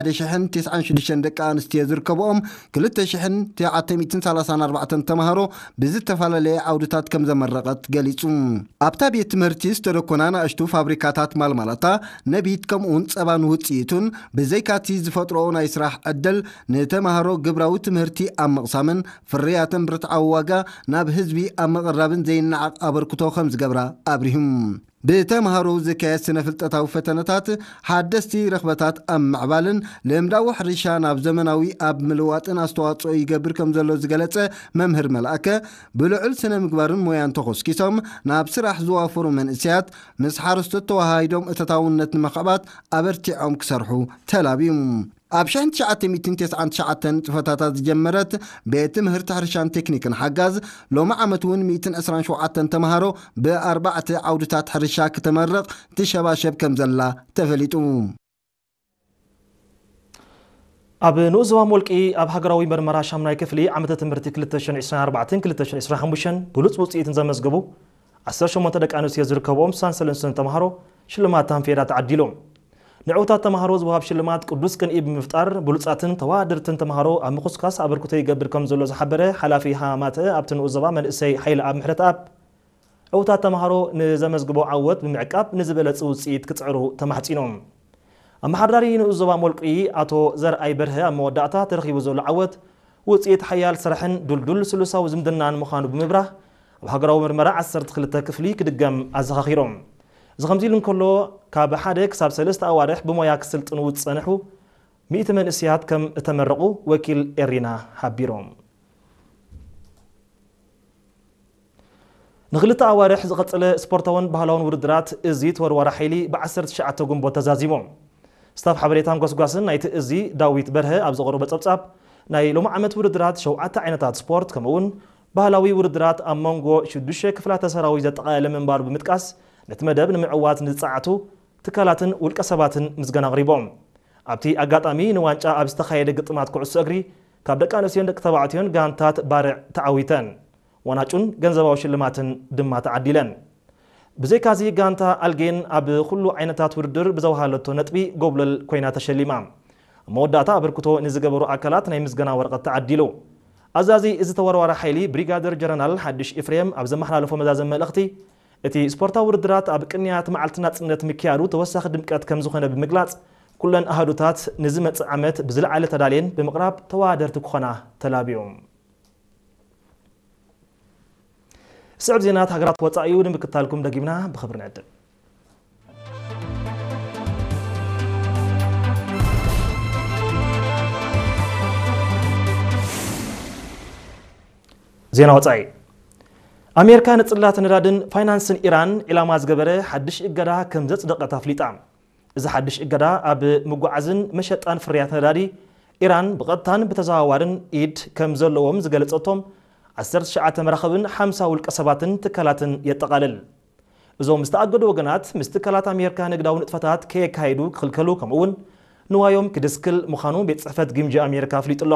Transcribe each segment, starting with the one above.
ሓደ ሽሕን ተስዓን ሽዱሽተን ደቂ ኣንስትዮ ዝርከብኦም ክልተ ሽሕን ትሽዓተ ሚእትን ሰላሳን ኣርባዕተን ተምሃሮ ብዝተፈላለየ ዓውድታት ከም ዘመረቐት ገሊጹ። ኣብታ ቤት ትምህርቲ ዝተደኮና ንኣሽቱ ፋብሪካታት ማልማላታ፣ ነቢት፣ ከምኡውን ጸባን ውጽኢቱን፣ ብዘይካቲ ዝፈጥሮኦ ናይ ስራሕ ዕድል፣ ንተምሃሮ ግብራዊ ትምህርቲ ኣብ ምቕሳምን ፍርያትን ብርትዓዊ ዋጋ ናብ ህዝቢ ኣብ ምቕራብን ዘይነዓቕ ኣበርክቶ ከም ዝገብራ ኣብሪሁም። ብተምሃሮ ዝካየድ ስነ ፍልጠታዊ ፈተነታት፣ ሓደስቲ ረኽበታት ኣብ ምዕባልን ልምዳዊ ሕርሻ ናብ ዘመናዊ ኣብ ምልዋጥን ኣስተዋጽኦ ይገብር ከም ዘሎ ዝገለጸ መምህር መልኣከ፣ ብልዑል ስነ ምግባርን ሞያን ተኾስኪሶም ናብ ስራሕ ዝዋፈሩ መንእሰያት፣ ምስ ሓረስቶት ተወሃሂዶም እተታውነት ንምኽዕባት ኣበርቲዖም ክሰርሑ ተላብዩ። ኣብ ሽሕን ትሽዓተ ሚእትን ተስዓን ትሽዓተን ንጥፈታታ ዝጀመረት ቤት ትምህርቲ ሕርሻን ቴክኒክን ሓጋዝ፣ ሎሚ ዓመት እውን ሚእትን ዕስራን ሸውዓተን ተምሃሮ ብኣርባዕተ ዓውድታት ሕርሻ ክተመርቕ ትሸባሸብ ከም ዘላ ተፈሊጡ። ኣብ ንኡስ ዞባ ሞልቂ ኣብ ሃገራዊ መርመራ ሻምናይ ክፍሊ ዓመተ ትምህርቲ ክልተ ሽሕን ዕስራን ኣርባዕተን ክልተ ሽሕን ዕስራን ሓሙሽተን ብሉጽ ውጽኢትን ዘመዝገቡ ዓሰርተ ሸሞንተ ደቂ ኣንስትዮ ዝርከብኦም ስሳን ሰለስተን ተምሃሮ ሽልማት ታንፌዳ ተዓዲሎም። ንዕውታት ተምሃሮ ዝወሃብ ሽልማት ቅዱስ ቅንኢ ብምፍጣር ብሉጻትን ተወዳደርትን ተምሃሮ ኣብ ምኹስካስ ኣበርክቶ ይገብር ከም ዘሎ ዝሓበረ ሓላፊ ሃማተ ኣብቲ ንኡስ ዞባ መንእሰይ ሓይለኣብ ምሕረተኣብ፣ ዕውታት ተምሃሮ ንዘመዝግቦ ዓወት ብምዕቃብ ንዝበለጸ ውጽኢት ክጽዕሩ ተማሕጺኖም። ኣመሓዳሪ ንኡስ ዞባ ሞልቂ ኣቶ ዘርኣይ በርሀ ኣብ መወዳእታ ተረኺቡ ዘሎ ዓወት ውጽኢት ሓያል ስራሕን ድልዱል ስሉሳዊ ዝምድናን ምዃኑ ብምብራህ፣ ኣብ ሃገራዊ ምርመራ ዓሰርተ ክልተ ክፍሊ ክድገም ኣዘኻኺሮም። እዚ ከምዚ ኢሉ እንከሎ፣ ካብ ሓደ ክሳብ ሰለስተ ኣዋርሕ ብሞያ ክስልጥኑ ዝጸንሑ ሚእቲ መንእሰያት ከም እተመረቑ ወኪል ኤሪና ሓቢሮም። ንኽልተ ኣዋርሕ ዝቐጸለ ስፖርታውን ባህላውን ውድድራት እዚ ተወርዋሪ ሓይሊ ብ ዓሰርተ ትሽዓተ ግንቦት ተዛዚሙ። ስታፍ ሓበሬታን ጎስጓስን ናይቲ እዚ ዳዊት በርሀ ኣብ ዘቕረቦ ጸብጻብ፣ ናይ ሎሚ ዓመት ውድድራት ሸውዓተ ዓይነታት ስፖርት ከምኡውን ባህላዊ ውድድራት ኣብ መንጎ ሽዱሽተ ክፍላተ ሰራዊት ዘጠቓለለ ምንባሩ ብምጥቃስ፣ ነቲ መደብ ንምዕዋት ንዝጸዓቱ ትካላትን ውልቀ ሰባትን ምስጋና ኣቕሪቦም። ኣብቲ ኣጋጣሚ ንዋንጫ ኣብ ዝተኻየደ ግጥማት ኩዕሶ እግሪ ካብ ደቂ ኣንስትዮን ደቂ ተባዕትዮን ጋንታት ባርዕ ተዓዊተን። ዋናጩን ገንዘባዊ ሽልማትን ድማ ተዓዲለን። ብዘይካዚ ጋንታ ኣልጌን ኣብ ኩሉ ዓይነታት ውድድር ብዘውሃለቶ ነጥቢ ጎብለል ኮይና ተሸሊማ። ኣብ መወዳእታ ኣበርክቶ ንዝገበሩ ኣካላት ናይ ምስጋና ወረቐት ተዓዲሉ። ኣዛዚ እዚ ተወርዋሪ ሓይሊ ብሪጋደር ጀነራል ሓድሽ ኤፍሬም ኣብ ዘመሓላለፎ መዛዘሚ መልእኽቲ፣ እቲ ስፖርታዊ ውድድራት ኣብ ቅንያት መዓልቲ ናጽነት ምክያዱ ተወሳኺ ድምቀት ከም ዝኾነ ብምግላጽ፣ ኩለን ኣሃዱታት ንዝመጽእ ዓመት ብዝለዓለ ተዳልየን ብምቕራብ ተወዳደርቲ ክኾና ተላብዮም። ስዕብ ዜናት ሃገራት ወጻኢ እዩ ንምክታልኩም ደጊምና ብኽብሪ ንዕድም። ዜና ወጻኢ። ኣሜሪካ ንጽላት ነዳድን ፋይናንስን ኢራን ዒላማ ዝገበረ ሓድሽ እገዳ ከም ዘጽደቐት ኣፍሊጣ። እዚ ሓድሽ እገዳ ኣብ ምጉዓዝን መሸጣን ፍርያት ነዳዲ ኢራን ብቐጥታን ብተዘዋዋርን ኢድ ከም ዘለዎም ዝገለጸቶም ዓሰርተ ትሽዓተ መራኽብን ሓምሳ ውልቀ ሰባትን ትካላትን የጠቓልል። እዞም ዝተኣገዱ ወገናት ምስ ትካላት ኣሜሪካ ንግዳዊ ንጥፈታት ከየካየዱ ክኽልከሉ፣ ከምኡውን ንዋዮም ክድስክል ምዃኑ ቤት ጽሕፈት ግምጃ ኣሜሪካ ኣፍሊጡ ኣሎ።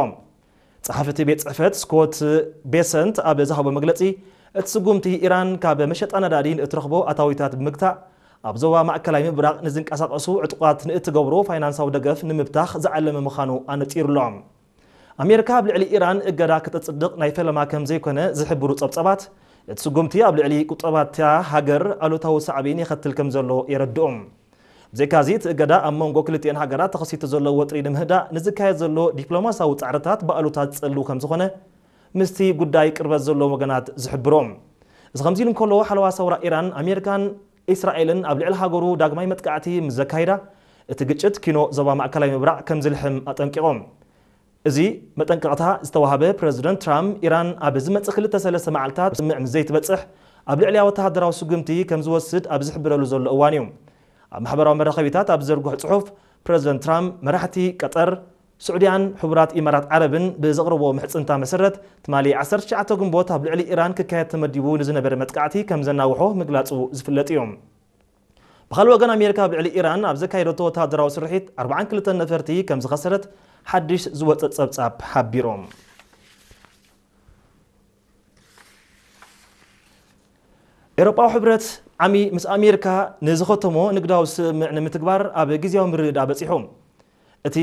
ጸሓፊ እቲ ቤት ጽሕፈት ስኮት ቤሰንት ኣብ ዝሃቦ መግለጺ፣ እቲ ስጉምቲ ኢራን ካብ መሸጣ ነዳዲ ንእትረኽቦ ኣታዊታት ብምግታእ፣ ኣብ ዞባ ማእከላይ ምብራቕ ንዝንቀሳቐሱ ዕጡቓት ንእትገብሮ ፋይናንሳዊ ደገፍ ንምብታኽ ዝዓለመ ምዃኑ ኣነጺሩ ኣሎ። ኣሜሪካ ኣብ ልዕሊ ኢራን እገዳ ከተጽድቕ ናይ ፈለማ ከም ዘይኮነ ዝሕብሩ ጸብጻባት፣ እቲ ስጉምቲ ኣብ ልዕሊ ቁጠባታ ሃገር ኣሉታዊ ሳዕቤን የኸትል ከም ዘሎ የረድኡ። ብዘይካዚ፣ እቲ እገዳ ኣብ መንጎ ክልቲኤን ሃገራት ተኸሲቱ ዘሎ ወጥሪ ንምህዳእ ንዝካየድ ዘሎ ዲፕሎማሲያዊ ጻዕርታት ብኣሉታ ዝጸልው ከም ዝኾነ ምስቲ ጉዳይ ቅርበት ዘለዎም ወገናት ዝሕብሩ። እዚ ከምዚ ኢሉ እንከሎ፣ ሓለዋ ሰውራ ኢራን፣ ኣሜሪካን እስራኤልን ኣብ ልዕሊ ሃገሩ ዳግማይ መጥቃዕቲ ምስ ዘካይዳ፣ እቲ ግጭት ኪኖ ዞባ ማእከላይ ምብራቕ ከም ዝልሕም ኣጠንቂቖም። እዚ መጠንቀቕታ ዝተዋህበ ፕረዚደንት ትራምፕ፣ ኢራን ኣብ ዝመጽእ ክልተ ሰለስተ መዓልታት ስምምዕ ምስ ዘይትበጽሕ፣ ኣብ ልዕሊኣ ወተሃደራዊ ስጉምቲ ከም ዝወስድ ኣብ ዝሕብረሉ ዘሎ እዋን እዩ። ኣብ ማሕበራዊ መራኸቢታት ኣብ ዝዘርግሖ ጽሑፍ፣ ፕረዚደንት ትራምፕ፣ መራሕቲ ቀጠር፣ ስዑድያን ሕቡራት ኢማራት ዓረብን ብዘቕረብዎ ምሕጽንታ መሰረት፣ ትማሊ ዓሰርተ ትሽዓተ ግንቦት ኣብ ልዕሊ ኢራን ክካየድ ተመዲቡ ንዝነበረ መጥቃዕቲ ከም ዘናውሖ ምግላጹ ዝፍለጥ እዩ። ብኻልእ ወገን፣ ኣሜሪካ ኣብ ልዕሊ ኢራን ኣብ ዘካየደቶ ወተሃደራዊ ስርሒት ኣርባዓን ክልተን ነፈርቲ ከም ዝኸሰረት ሓድሽ ዝወጸ ጸብጻብ ሓቢሮም። ኤውሮጳዊ ሕብረት ዓሚ ምስ ኣሜሪካ ንዝኸተሞ ንግዳዊ ስምምዕ ንምትግባር ኣብ ግዝያዊ ምርድዳእ በጺሑ። እቲ